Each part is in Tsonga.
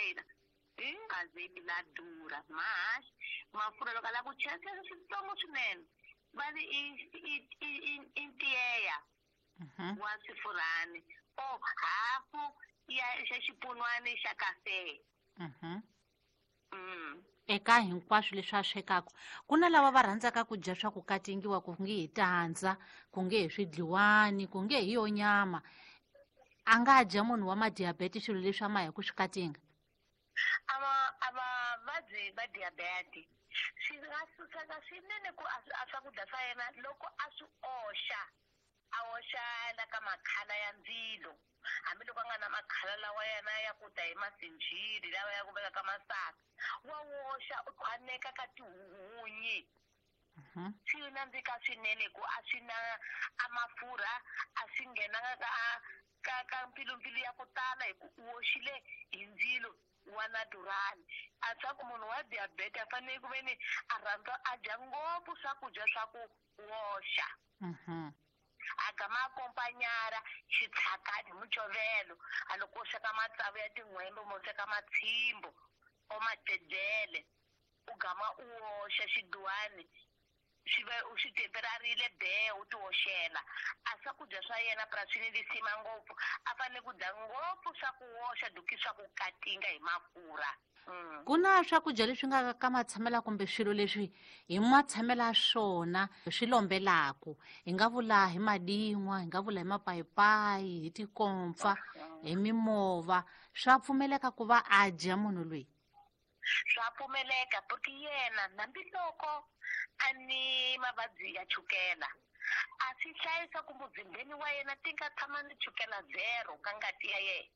container hi la durha mahaxi mafurha loko a lava ku chela chela switsongo swinene va ri i i i i i ntiyeya wa swifurhani o hafu ya xa xipunwani xa kafe. Eka hinkwaswo leswi a swekaka, ku na lava va rhandzaka ku dya swa ku katingiwa, ku nge hi tandza, ku nge hi swidliwani, ku nge hi yo nyama. A nga dya munhu wa madiabete swilo leswi a ma hi ku swi katinga? A vavabyi va diabete swi nga suseka swinene ku a swakudya swa yena loko a swi oxa, a oxa la ka makhala ya ndzilo, hambiloko a nga na makhala lawa yena ya ku ta hi masinjhili lawa ya ku veka ka masaka, wa woxa u khwaneka ka tihunyi. Swi nandzika swinene ku a swi na a mafurha, a swi nghenanga ka mpfilumpfilu ya ku tala hi ku u woxile hi ndzilo wa natural. A swa ku munhu wa diabete a fanele ku ve ni a rhandza a dya ngopfu swakudya swa ku woxa. A gama akompanyara xitshakati hi mucovelo, a loko u sweka matsavu ya tin'hwembe mo sweka matshimbo o macedzele, u gama u woxa xiduwani swi va u swi temperarile be u ti woxela. A swakudya swa yena purasini lisima ngopfu, a fanele ku dya ngopfu swa ku woxa duki swa ku katinga hi mafurha. Ku na swakudya leswi nga ka matshamela kumbe swilo leswi hi matshamela swona swi lombelaku, hi nga vula hi madin'wa, hi nga vula hi mapayipayi, hi tikompfa, hi mimova, swa pfumeleka ku va a dya munhu loyi? Swa pfumeleka porque yena hambiloko a ni mavabyi ya chukela, a swi hlayisa ku muzimbeni wa yena ti nga tshama ni chukela zero ka ngati ya yena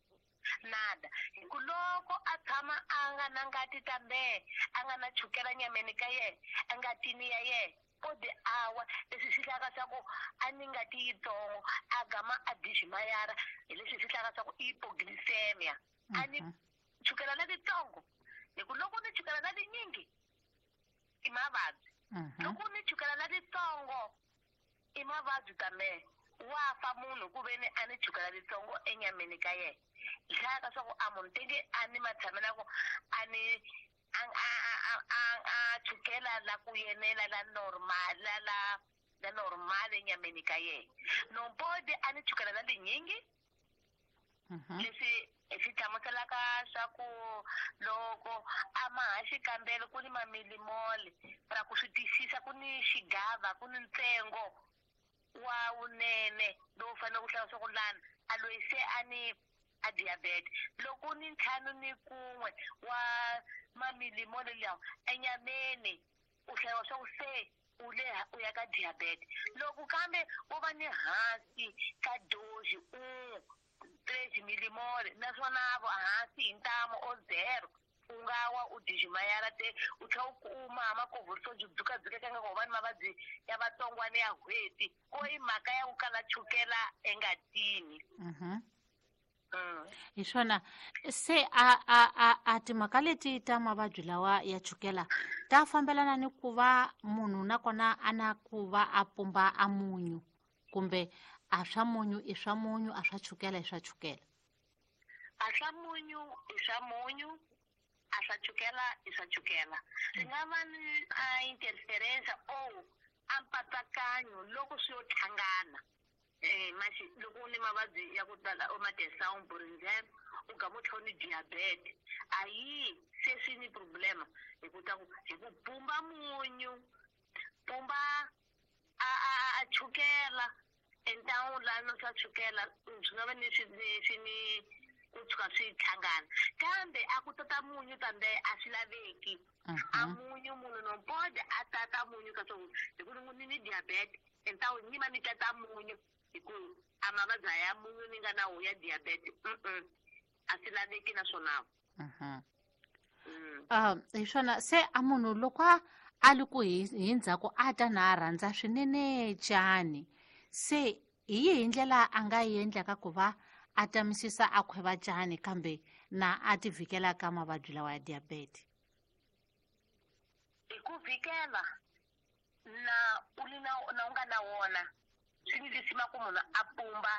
nada. Hi ku loko a tshama a nga na ngati tambe a nga na chukela nyameni ka yena, engatini ya yena, o di awa leswi swi hlaka swa ku a ni ngati yitsongo, a gama a diximayara hi leswi swi hlaka swa ku i hypoglycemia, a ni chukela na litsongo. Hi ku loko ni chukela na linyingi i mavabyi, loko ni chukela na litsongo i mavabyi tambe wa fa munhu ku ve ni a ni chukela litsongo enyameni ka yena. Hlaya ka swa ku a munhu tenge a ni matshamela ku a ni a chukela la ku yenela la normal, la la la normal enyameni ka yena, nompodi a ni chukela la linyingi. Leswi swi hlamuselaka swa ku loko a ma ha xikambelo ku ni mamilimole ra ku swi twisisa, ku ni xigava, ku ni ntsengo wa wunene lowu fanele ku hlaya swa ku lana a loyi se a ni a diabete. Loko ni 51 wa mamilimole lawa enyameni, u hlayiwa swa ku se u le u ya ka diabete. Loko kambe wo va ni hansi ka doji u 3 milimole, naswona vo hansi hi ntamu o 0, u nga wa u diximayara te u tlhela u kuma makovhoriso byi dzukadzukeka nga ku va ni mavabyi ya vatsongwana ya n'hweti, ko i mhaka ya ku kala chukela engatini. Hi swona se a timhaka leti ta mavabyi lawa ya chukela ta fambelana ni ku va munhu nakona a na ku va a pumba a munyu, kumbe a swa munyu i swa munyu, a swa chukela i swa chukela? A swa munyu i swa munyu, a swa chukela i swa chukela. Swi nga va ni a interference o a mpatsakanyo loko swi yo hlangana. Maxi loko u ni mavabyi ya ku tala o ma-tension, por exemple, u gama u tlhela u ni diabete, a yi se swi ni problema hi ku ta ku hi ku pumba munyu, pumba a chukela entangu la no swa chukela, swi nga va ni swi ni swi ni ku tshuka swi hlangana, kambe a ku tata munyu kambe a swi laveki. A munyu munhu nompode a tata munyu ka swo hi ku ni ni diabete entangu ni va ni tata munyu hi ku a mavabyi ya munyu ni nga na wo ya diabete, a swi laveki naswona. Hi swona se a munhu loko a li ku hi ndzhaku a ta na a rhandza swinene cani, se hi yihi ndlela a nga yi endlaka ku va a tamisisa a khweva cani kambe na a ti vhikela ka mavabyi lawa ya diabete? Hi ku vhikela na u li na na u nga na wona, swi ni lisima ku munhu a pumba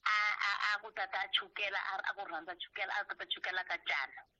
a ku tata chukela, a ku rhandza chukela, a tata chukela ka cana.